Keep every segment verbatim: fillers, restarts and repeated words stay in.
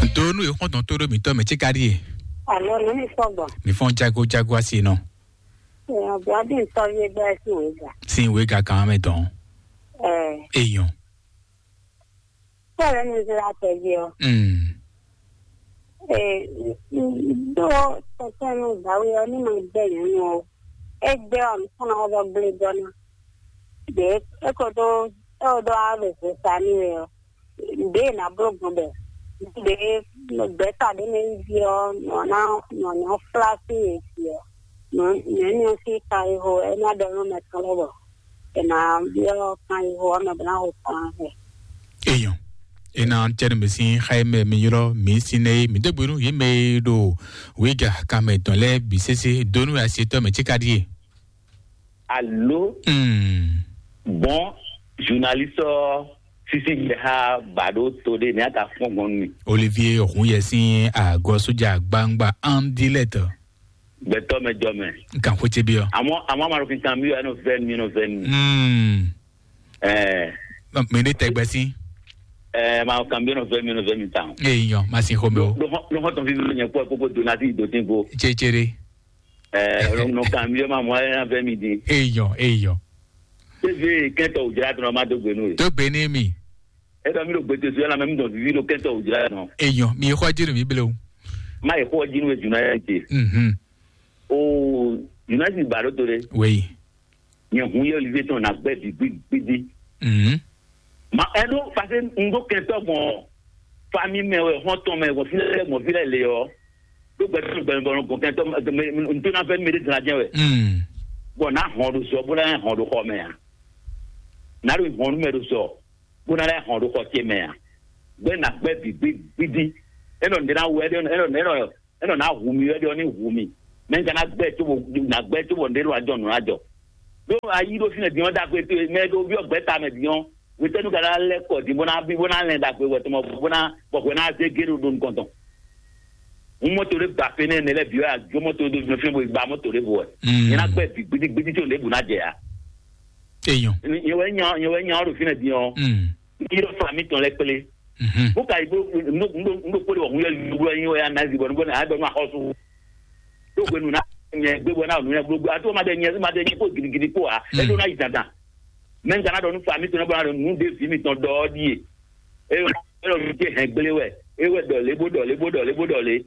Ntonu e xɔntɔn to ɖo mitɔ mɛ tsi ka ɖie. Alo, nú mi sɔgbɔ. Mi fɔn jago jago asi nɔ. Èèyàn bí ọdún nǹkan yé bẹ́ẹ̀ sì wé gà. Sin wé ga kan mɛ tɔn. Ẹ Èèyàn. Sọ̀rọ̀ mi ti la tẹ̀lé ọ. Mm. Ẹ Dó tẹ̀sán mi gbàwé ọ ní ma gbẹ yẹn nù ọ. Ẹ gbẹ ọ nìkan náà wọ́n gbé gbọ́ náà. Dè é kò tó ẹ ò dó á lè fò sa ní rẹ ọ. Dè é nà bló gbọ́n bẹ̀. Dè é gbẹ́ta dé ní bí ọ nọ ná nọ ní flá sí yẹn sí ọ. Nọ ní ọ sí ka ihò ẹ ná dọ̀ nù mẹ́tọ́ lọ́wọ́. Ẹ nà bí ọ kan ihò ọ mẹ bọ̀ náà hò kan ẹ. Èèyàn. Ena tɛnu mi sin xayimɛ mi ylɔ mi sinɛ mi dégbe nú yě mɛ e ɖo wíga kanmɛ tɔn lɛ́ɛ bǐ sésé donu asetɔ mɛ tsi ka ɖie. Alo. Hmm. Bon, journaliste sisi jɛ ha ba ɖo to ɖe ne ata fɔn gbɔn mi. Olivier Hunyɛ sin agɔ soja gbangba andilɛt. Gbɛtɔ mɛ jɔ mɛ. Nkan xwete bi ɔ. Àmọ́ àmọ́ àmọ́ àròkìn kan mi yọ ẹnu fẹ́ mi ẹnu fẹ́ mi. Hmm. Ẹ Mi ɖe tɛgbɛ si. Ẹ ma kan bi ẹnu fẹ́ mi ẹnu fẹ́ mi tan. Eyi nyɔ ma si xɔmɛ o. Ló hɔn tɔn fi mi nyɛ kpɔ kókó do nati do ti ko. Tsetsere. Ẹ Nɔ kan mi yọ ma mɔ ẹ na fẹ́ mi di. Eyi nyɔ eyi nyɔ. Tẹ́sí kẹ́tọ̀ òjìlá tó ma dó gbénu rẹ̀. Tó gbé ní mi. Ẹ dọ̀ mi ɖo gbèsè sɔ́ ẹ la mɛ mi dɔn vivi ɖo kɛntɔ wò jlá nɔ. Eyɔn mi xɔ jinu mi blewu. Má yẹ xɔ jinu wɛ juna yɛ te. Mhm. O juna si ba ɖo to ɖe. Wei. Nyɛ hun yɛ olivier tɔn na gbɛ bi gbidi. Mhm. Ma ɛ ɖo parce que n ɖo kɛntɔ gbɔn fami mɛ wɛ hɔn tɔn mɛ gbɔn fi lɛ gbɔn fi lɛ le ɔ. Ɖo gbɛtɔ gbɛmɛ bɔ gbɔn kɛntɔ n to na fɛ mi ɖe dina jɛ wɛ. Mhm. Bɔn na hɔn ɖo zɔ bó na hɔn ɖo xɔ mɛ a. Na ɖo hɔn nu mɛ ɖo zɔ. Bó ná lɛ́ hɔn ɖo xɔ ce mɛ a? Gbɛ́ ná gbɛ́ bǐ gbí gbídí. É nɔ ɖě ná wu wɛ ɖé, é nɔ é nɔ é nɔ ná hu mi wɛ ɖé ɔ́ ní hu mi. Mɛ ka ná gbɛ́ cóbɔ ná gbɛ́ cóbɔ ɖě nɔ ajɔ nǔ ná jɔ. Ɖó ayí ɖó fínɛ́ din ɔ́ ɖagbe towe mɛ ɖó byɔ́ gbɛ́ tamɛ din ɔ́, hwetɛ́nu ka ná lɛ́ kɔ din bó ná bí bó ná lɛn ɖagbe wɛ tɔmɔ bó ná bɔ hwɛ ná zé gé ɖo ɖo nukɔn tɔn. Mú mɔto ɖé gba fínɛ́ nɛ lɛ́ bǐ wɛ ajó mɔto ɖé nɔ fínɛ́ bó gba mɔto ɖé vo wɛ. Nyɛ ná gbɛ́ bǐ gbídí gbídí có ɖěbǔ ná jɛ ya. Eyɔn. Nyɛ wɛ nya nyɛ wɛ nya ɔ́ ɖo fínɛ́ din ɔ́. Ní yɔ fa mi tɔn lɛ kplé. Bó ka yi bó ndo kpó de wɔhun yɛ yúgbúlɔ yín wɛ anázi bɔ nubɔ náà dɔnu axɔsu. Tó gbenu na nyɛ gbé bɔ náà nuyɛ gbogbo ato ma de nyɛ ma de nyɛ kó gidigidi kó a e ɖó ná yi dandan. Mɛ n gana dɔ nu fa mi tɔn bɔ na dɔ nu de vi mi tɔn dɔ ɔdi ye. E yɔ e yɔ mi te hɛn gblé wɛ e wɛ dɔ lé bó dɔ lé bó dɔ lé bó dɔ lé.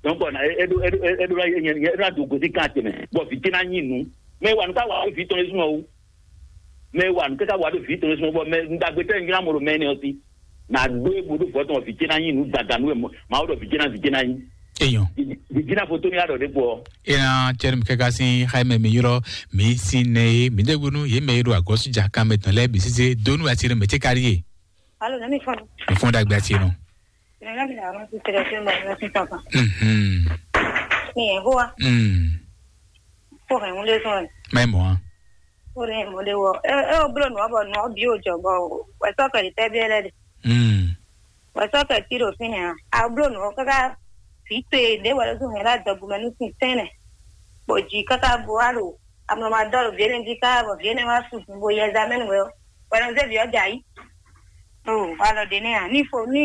Donc on a e do e do e do la ye ye na do gosi kan tɛmɛ. Bɔ vi tena nyi nu. Mɛ wa nu ka wa vi tɔn esun o. Mɛ wa nu ka wa do vi tɔn esun bɔ mɛ ndagbe tɛ nyina mo do mɛ ne ɔsi. Na do e bo do vɔ tɔn vi tena nyi nu dada nu e ma o do vi tena vi tena nyi. Eyɔn. Vi tena foto ni a dɔ de bɔ. Ena cɛri mi kɛka sin xayi mɛ mi yɔrɔ mi sin nɛ ye mi de gbonu ye mɛ ye do agɔsu ja kan mɛ tɔn lɛ bi sise donu asiri mɛ tse kari ye. Alo, nani fɔn. Fɔn dagbe asi nɔ. Nana bi na ɔnɔ ti tẹ̀lé fún mi lọ sí tọkàn. Mhm. Ní ẹ̀ hó wa. Mm. Kó hẹn ń lé sún ẹ̀. Mɛ mɔ. Ó lè mú lé wọ. Ẹ ẹ ó búrò nù ọ́ bọ̀ nù ọ́ bí ó jọ bọ̀ o. Wẹ̀ sọ́kẹ̀ lè tẹ́ bí ẹ lẹ́dẹ̀. Mm. Wẹ̀ sọ́kẹ̀ tí lò fín yẹn. A búrò nù ọ́ káká fi tó e lé wẹ̀ lọ́sùn yẹn lá dọ̀bù mẹ́nu sí tẹ́nẹ̀. Bọ̀ jì káká bu á lò. Amlɔ ma dɔ ɖo viɖe jí ká bɔ viɖe wá su bo yi ɛzamɛnu wɛ ɔ. Wɛ nɔ zé vǐ ɔ́ jɛ ayǐ. O alɔ ɖe nɛ́ a ní fo ní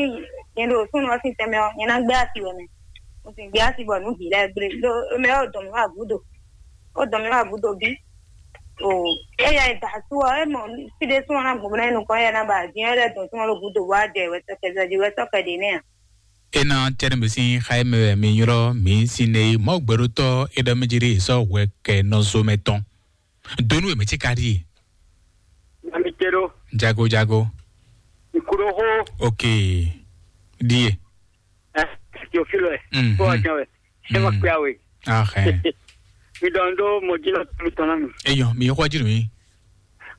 nyɛ ɖo súnnu ɔ́ sín tɛnmɛ ɔ́ nyɛ ná gbé asi wɛ mɛ. Mo sì gbé asi bɔ nǔ bǐ lɛ́ɛ gblé ɖó mɛ ɔ́ dɔn mǐ wá gǔdo. Ó dɔn mǐ wá gǔdo bí. O éyɛ da sú ɔ́ é mɔ fí ɖé súnmọ́ ná gbɔn ná nukɔn éyɛ ná ba dín ɔ́ lɛ́ dɔn súnmọ́ ɖo gǔdo wá jɛ wɛ sɔkɛ zɔjí wɛ sɔkɛ ɖe nɛ́ a. Ena tɛnɛ mi sin xayi mɛ wɛ mi ylɔ mi sin ne mɔ gbɛɖotɔ e ɖɔ mi jiri sɔ hwɛ kɛ nɔzo mɛ tɔn. Donu e mi ti ka ɖi. Ami te ɖo. Jago jago. Nkuro xo. Ok. Ɖie. Ɛ Teofilo ɛ. Mhm. Kó wa jɛn wɛ. Ɛ ma kpé awe. Ahɛ. Mi dɔn ɖó mɔjínɔ mi tɔn na mi. Eyɔ mi xɔ jiri mi.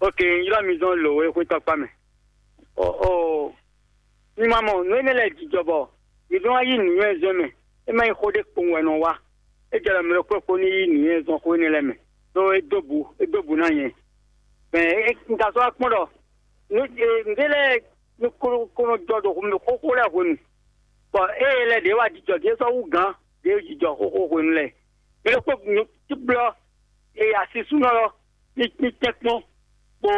Ok, ylɔ mi zɔn lo we xwe tɔkpa mɛ. O o. Mi ma mɔ nǔ énɛ́ lɛ́ɛ jijɔ bɔ mi nɔ wá yí nǔnywɛ́ zɔn mɛ, é má nyí xó ɖé kpowun wɛ nɔ wá. É jɛ ɖɔ mɛ ɖokpó kpó ní yí nǔnywɛ́ zɔn xó énɛ́ lɛ́ɛ mɛ, ɖó é dó bu é dó bu ná nyɛ. Mɛ un ka sɔ́ wá kpɔ́n ɖɔ nǔ nǔɖé lɛ́ɛ ní kó kó nɔ jɔ ɖo xóxó lɛ́ɛ hwenu, bɔ ée lɛ́ɛ ɖě wá jijɔ ɖě sɔ́ wú gǎn ɖě jijɔ xóxó hwenu lɛ́ɛ. Mɛ ɖokpó tí blɔ́ e asisúnɔ lɔ ní ní tɛ́nkpɔ́n bó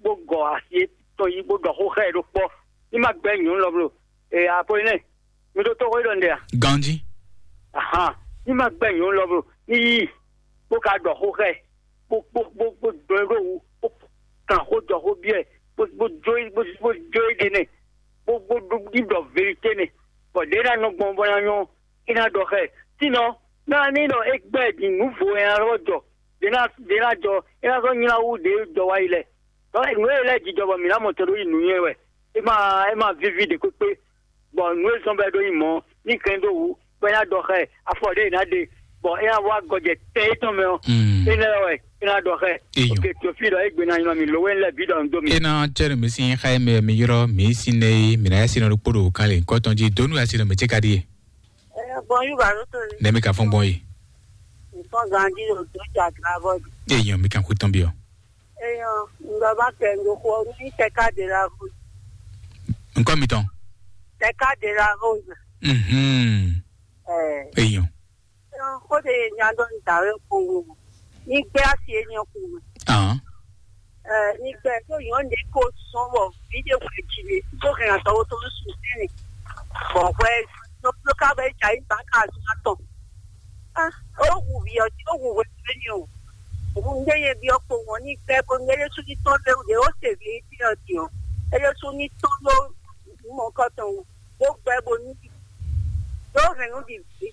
bó gɔ asi tɔn yi bó ɖɔ xó xá ɛ ɖó kpɔ́. Ní má gbɛ́ nyɔ̌nu lɔ blo e Apolinɛ́ɛ, Mi ɖo tó xó ɖɔ ndɛ a? Ganji. Ahan. Ní ma gbɛ nyɔ̌nu lɔ bro, ní yí, bó ka ɖɔ xó xɛ, bó bó bó bó dɔn ɖó wú, bó kan xó jɔ xó biɛ, bó bó jó bó bó jó ɖe nɛ, bó bó ɖo ɖɔ vérité nɛ, bɔ ɖě ná nɔ gbɔn bɔ ná nyɔ́, é ná ɖɔ xɛ. Sinon, ná ní ɖɔ é gbɛ ɖi nǔ vo ɛ ná lɔ jɔ, ɖě ná ɖě ná jɔ, é ná sɔ́ nylá wú ɖě jɔ wá yi lɛ. Nǔ e lɛ́ jijɔ bɔ mǐ ná mɔ tɛn ɖó yi nǔnywɛ́ wɛ. É ma é ma víví ɖě kpékpé. Bɔ nǔ e zɔn bɔ é ɖó yi mɔ̌, ní kɛn ɖó wǔ, bɔ é ná ɖɔ xɛ, afɔ ɖé è nǎ ɖe, bɔ é ná wá gɔjɛ tɛ étɔn mɛ ɔ́, énɛ́ wɛ é ná ɖɔ xɛ. Eyɔn. Oke, Teofil ɖɔ égbé ná nylɔ mì, lǒwe lɛ́ɛ bǐ ɖɔ un dó mi. Ena cɛ́ nú mi sín xá e mɛ mi ylɔ́ mǐ sín nɛ́ é, mǐ ná yá sin nɔ ɖokpó ɖo kan lě nyǐkɔ tɔn jí, dǒ nú yá sin nɔ mɛ̌ ce ka ɖíe. Ɛ, bɔn yú ba ɖó to ni. Nɛ̌ mi ka fɔ́n gbɔn yi? Nǹkan gan jí o tó jà gbá bọ́ di. Eyɔn, mi kan xú tɔn byɔ́. Eyɔn, ŋgbà bá kɛ ŋgo xɔ ní tɛka de la vo. Nǹkan mi tɔn. Tɛka de la vo. Mhm. Ɛ. Eyɔn. Eyɔn, xó de nya dɔ ní dàwé kowó. Ní gbé asi é nyɔ kowó. Ahàn. Ɛ, ní gbé tó yɔn ní kó sɔn bɔ, bí de wɛ jí mi, tó hɛn àtɔwó tó sùn sínú. Bɔ hwɛ, tó tó ká bɛ jà yí bá ká àti má tɔn. Ah, ó hu vǐ ɔ́, ó hu hwenu énɛ́ o. Òun ŋɖé yɛ byɔ́ kpo ŋɔ́ ní kpɛ́ bó ŋɖé Yésu ní tɔ́n lé wǔ ɖé ó se vǐ énɛ́ ɔ́ din ɔ́, é Yésu ní tɔ́n ɖó mɔ̌kɔtɔn wú, bó gbɛ́ bó ní ɖi. Ɖó hɛ̌nnu ɖi vǐ.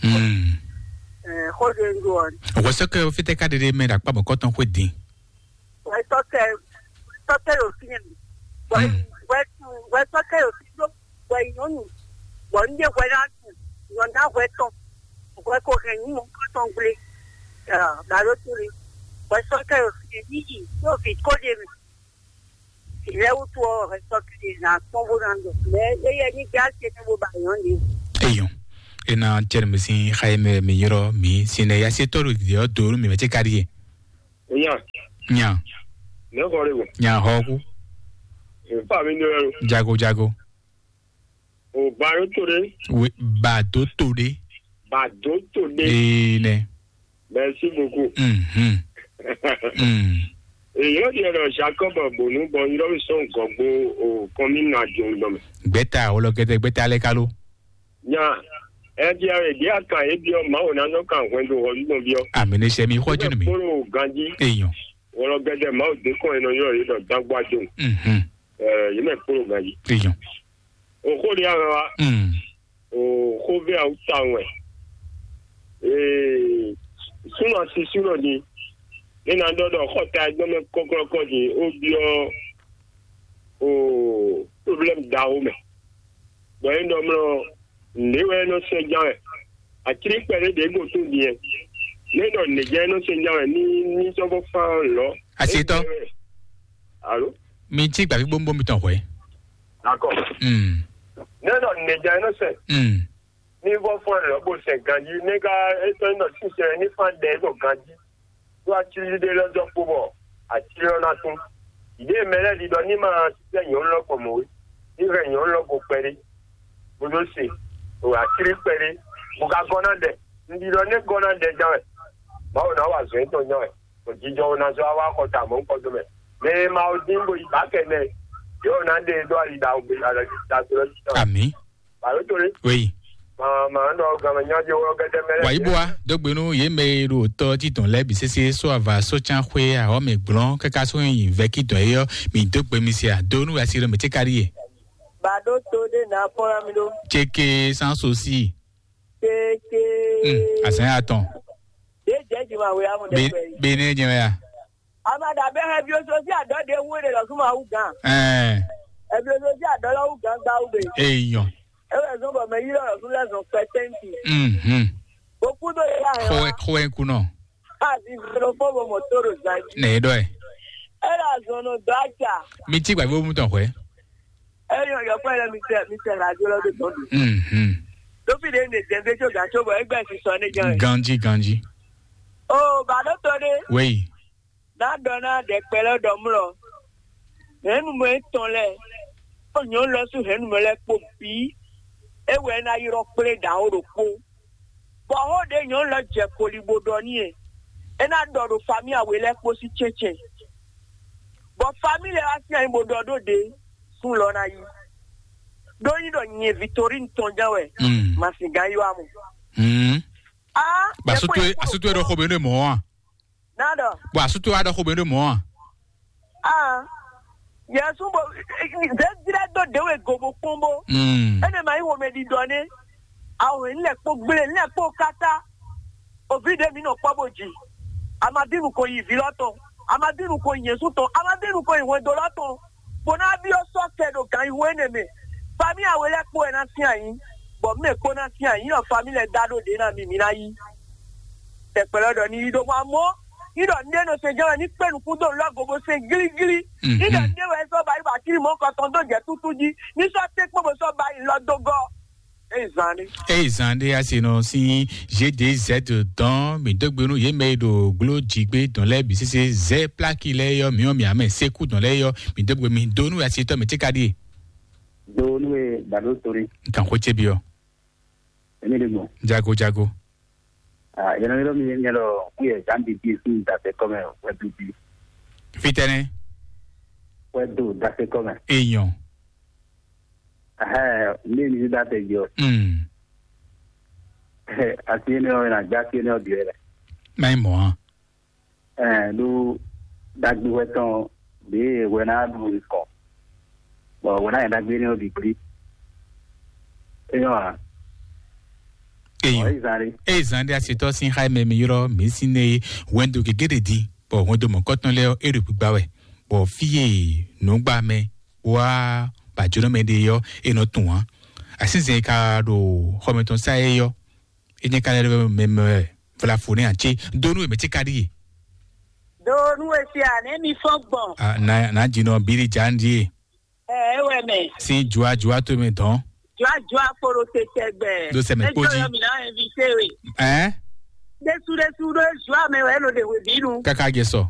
Hmm. Ɛ, xó ɖé ń ɖó ɔ́. Hwɛsɛ́kɛ ɔ́ fítɛ́ ká ɖeɖe mɛ ɖo akpá mɔ̌kɔtɔn xwé din. Hwɛsɔ́kɛ, hwɛsɔ́kɛ ɖo fínɛ́. Hwɛ, Hmm. hwɛ, hwɛsɔ́kɛ ɖo fínɛ́. Hwɛ nyɔ̌nu, bɔ un ɖe hwɛ ná tu, nyɔ ná hwɛ tɔn, hwɛ ko hɛn nyǐ mɔ tɔn gblé. Ɖalo to le, hwɛ sɔ́ kɛ ɖo fi ɖe ní yi, ɖo vǐ ko ɖe mɛ. Vǐ lɛ́ɛ wútu ɔ́, hwɛ sɔ́ kɛ ɖe ná kpɔ́n bó ná ɖɔ. Mɛ éyɛ́ ní gbá se nú bó ba nyɔ̌nu ɖě. Eyɔn. Ena cɛ́ nú mi sín xá e mɛ mi ylɔ́ mi sín nɛ́ yá sé tɔ́ ɖo dǐdí ɔ́ do nú mi mɛ ce ka ɖíe. Nya. Nya. Nɛ̌ xɔ ɖe gbɔn? Nya xɔ kú. Nfa mi nɔ yɔ. Jago jago. O ba ɖo to ɖe. Oui, ba do to ɖe. Ba do to ɖe. Ee nɛ. Merci beaucoup. Mhm. Mm. Èyí ó di ọ̀dọ̀ Jacob Bonu bọ̀ yúrọ́ mi sọ̀n gọ̀gbó o kọ́mínà jòun dọ̀ mẹ́. Gbẹ́ta ọlọ́gẹ́dẹ́ gbẹ́ta lẹ́ ká ló. Nya, ẹ di ẹ di akan ebi ọ Mawu na nɔ kan hwɛndo hɔ nínú bi ọ. Àmì ní sẹ́mi xɔjú nù mí. Kpolo ganji. Èèyàn. Wọlọ gẹdẹ Mawu dé kàn ẹnọ yọ yìí dọ dagba jo. Mhm. Ẹ, yìí mẹ kpolo ganji. Èèyàn. Òkò di àwọn wa. Mm. Òkò bẹ àwọn ta wọn. Ee, súnmọ́ sí súnmọ́ di. Nínú adọ́dọ̀ kọ́ta ẹgbẹ́ mẹ́ kọ́kọ́rọ́kọ́ di, ó bí ọ, o, problème da ó mẹ́. Bɔ é ɖɔ mlɔ nǔɖé wɛ é nɔ sɛn ján wɛ. Atlí kpɛɖé ɖě go tún din ɛ. Nú é ɖɔ nǔɖé ján é nɔ sɛn ján wɛ ní ní sɔ́ bó fán lɔ̌. Asitɔ. Alo. Mi cí gbàgbé gbóngbó mi tɔn hwɛ. Akɔ. Mm. Nú é ɖɔ nǔɖé ján é nɔ sɛn. Mm. Ní vɔ fán lɔ̌ bó sɛn ganjí ní ká é tɔ́ ní nɔ sínsɛn ní fán ɖɛ é ɖo ganjí. Ɖó atlíɖé lɔ dɔ kpo bɔ atlí ɔ́ ná tún. Yě mɛ lɛ́ɛ ɖiɖɔ ní ma sisɛ nyɔ̌nu lɔ gbɔn mɔ̌ é. Ní hɛn nyɔ̌nu lɔ go kpɛɖé, bó dó se, ɖo atlí kpɛɖé, bó ka gɔ́ ná ɖɛ. Un ɖiɖɔ ní gɔ́ ná ɖɛ ján wɛ. Mawu ná wa zɔ̌n tɔn ján wɛ. Bɔ jijɔ ɔ́ ná zɔ́ wá wá xɔ ta mɔ̌ kɔ dó mɛ. Mɛ e ma wo dín bo yi bǎ kɛ nɛ, yě wɔ ná ɖe e dó ali ɖaxó gbe alɔ da to lɔ títɔ. Àmì. Bàbá tó lé. Wéyí. Màá màá nɔ gàmà nyájọ wọ́n gẹ́gẹ́ mẹ́lẹ́. Wàyí bó wa dógbénú yé mɛ e ɖo tɔ títɔn lɛ bǐ sésé só ava só tsán xwé ahɔ mɛ gblɔn káká só nyi vɛ kí dɔn eyɔ mi dógbe mi se ado nú asi ɖo mɛ tí kárí yɛ. Bàdó tó ɖé nà fɔlá mi ɖó. Tseke sans aussi. Tseke. Hmm, asɛn atɔn. Ɖé jẹ́ jù máa wé amú ɖe pẹ̀lú. Bene jẹ ya. Amada bɛ hɛ bi oso si adɔ de wu de lɔ suma wu gan. Ɛɛ. Ɛbi oso si adɔ lɔ wu gan gba wu be. Eyɔn. Ewɛ zɔn bɔ mɛ yi lɔ lɔ su lɛ zɔn kpɛ tɛnti. Mhm. Boku do yi la hɛ wa. Xɔɛ kunɔ. A bi zɔn fɔ bɔ mɔ to do zan ji. Nɛ dɔ yɛ. E la zɔn nɔ dɔ aca. Mi ti gbàgbé wo mu tɔn xɔɛ. Eyɔn yɔ kpɛ lɛ mi tɛ mi tɛ la jo lɔ do tɔn do. Mhm. Tofi de ne dɛmɛ jo gato bɔ egbɛ si sɔ ne jɔn. Ganji ganji. O ba do to de. Wei. Ná ɖɔ ná ɖɛkpɛ lɛ́ɛ ɖɔ mlɔ, hɛ̌nnumɔ étɔn lɛ́ɛ, kpó nyɔ̌nu lɛ́ɛ sín hɛ̌nnumɔ lɛ́ɛ kpó bǐ, é wɛ é ná ylɔ́ kplé ɖǎ ó ɖokpó. Bɔ xó ɖě nyɔ̌nu lɛ́ɛ jɛ koli bó ɖɔ n'i é, é ná ɖɔ ɖo famíya we lɛ́ɛ kpó sín cɛ́ncɛ́n. Bɔ famíya lɛ́ɛ wá sín ayǐ bó ɖɔ ɖó ɖě, sún lɔ ná yí. Ɖó nyí ɖɔ nyɛ Victorine tɔn jɛ́n wɛ. Mm. Masin gán yɔ amɔ. Mm. Ah, Ba sutu e, asutu e ɖɔ xo be ne mɔ a? Nada. Ba sutu a ɖɔ xo be ne mɔ a? Ah. Yesu bo dedire do dewe gobo kpombo. Mm. Ene ma yi wo me di dɔne. Awo ne le kpo gble, ne le kpo kata. Ovi de mi nɔ kpɔ bo ji. Amadinu ko yi vi lɔ tɔn. Amadinu ko yi Yesu tɔn. Amadinu ko yi hwendo lɔ tɔn. Bó ná byɔ́ sɔ́ kɛ ɖo gan yi hwé nɛ mɛ. Fami awe lɛ́ɛ kpo wɛ ná sín ayǐ, bɔ mɛ kpo ná sín ayǐ, nɔ fami lɛ́ɛ dá ɖó ɖě ná mi, mi ná yí. Tɛkpɛlɛ ɖɔ ní yí ɖó mɔ amɔ́, yí ɖɔ ní ɖé nɔ se jɛ́n wɛ ní kpé nukún dó lɔ gogo se glíglí. Mhm. Ní ɖɔ ní ɖé wɛ sɔ́ ba yi ba kiri mɔ̌ kɔtɔn dó jɛ tútú jí, ní sɔ́ té kpó bó sɔ́ ba yi lɔ dó gɔ́. Eye zan ɖé. Eye zan ɖé asi nɔ sín G D Z dɔn mi dó gbe nú yě mɛ e ɖo gló jǐgbé dɔn lɛ́ɛ bǐ sésé zɛ pláki lɛ́ɛ yɔ mǐ ɔ́ mǐ amɛ sékú dɔn lɛ́ɛ yɔ mi dó gbe mi dó nú asitɔ mi tíka ɖíe. Do nú e dado tori. Nkan xó cé bi ɔ. Èmi ɖe gbɔn. Jago jago. Ah, yɛn nɔ yɔrɔ mi yɛn lɔ kú yɛ zan bíbí fún dasɛ kɔmɛ wɛ bíbí. Fitɛnɛ. Wɛ do dasɛ kɔmɛ. Èèyàn. Ɛhɛn, ní ní dá tɛ jɔ. Mm. Asi énɛ́ ɔ́, é ná gbé asi énɛ́ ɔ́ bǐ wɛ lɛ. Má nyí mɔ̌ á. Ɛn ɖó ɖagbe wɛ tɔn ɖě wɛ ná ɖu nukɔn. Bɔ wɛ ná nyɛ ɖagbe énɛ́ ɔ́ bǐ gblí. É nyɔ́ ǎ. Èèyàn. Ɔ́, é zan ɖé. Eye zan ɖé asitɔ sín xá mɛ mi ylɔ́ mǐ sín nɛ wɛndo gěgé ɖe din, bɔ wɛndo mɔ̌kɔtɔn lɛ́ɛ ɔ́, é ɖo gbígbá wɛ, bɔ fí e nǔgbá mɛ wá bàjɔnɔmɛ ɖe ɔ́, é nɔ tunwun ǎ. Asínzɛn e ka ɖo xɔmɛ tɔn sá é ɔ́, é nyɛ ka lɛ́ mɛ mɛ wɛ vlafo nɛ́ ǎ cé dó nú è mɛ cé ka ɖíe. Do nú e se a ne mi fɔn gbɔn. Ah, na na dzi nɔ bílí dza ń ɖíe. Ɛ wɛ mɛ. Sín jua jua tó mɛ dɔn. Jua jua kporo te tɛgbɛ. Ɖo sɛmɛ kpó jí. Yɔ mi na invité we. Ɛ? Ɖesu ɖesu ɖo jua mɛ wɛ lo de we binu. Kaka jɛ sɔ.